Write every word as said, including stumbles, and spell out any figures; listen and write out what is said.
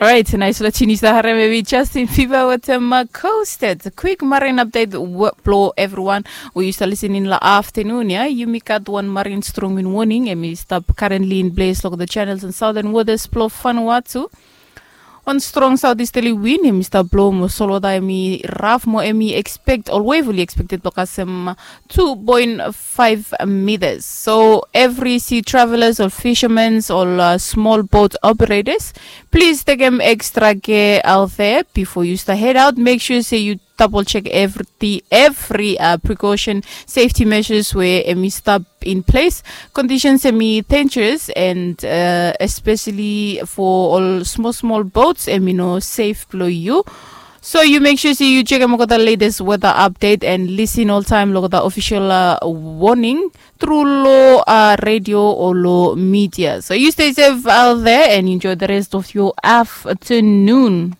Orait, nais long tinis da harem evi Justin Fiba wetem Coasted. Kwik marin update blong evriwan we yu stap lisening long aftanun ya. Yumi gat wan marin strong win warning em i stap currently in place long the channels and southern waters blong Vanuatu. Wan strong southeasterly win em i stap blong mo solwota em i raf mo em i expect ol wevuli expected blong kasem two point five meters. So every sea travelers or fishermen or uh, small boat operators, please take them extra care out there before you start head out. Make sure say you double check every every uh, precaution safety measures where em i stop in place. Conditions em i dangerous and uh, especially for all small small boats em i no safe below you. So you make sure say you check em the latest weather update and listen all time lo the official uh, warning through lo uh, radio or lo media. So you stay safe out there and enjoy the rest of your afternoon.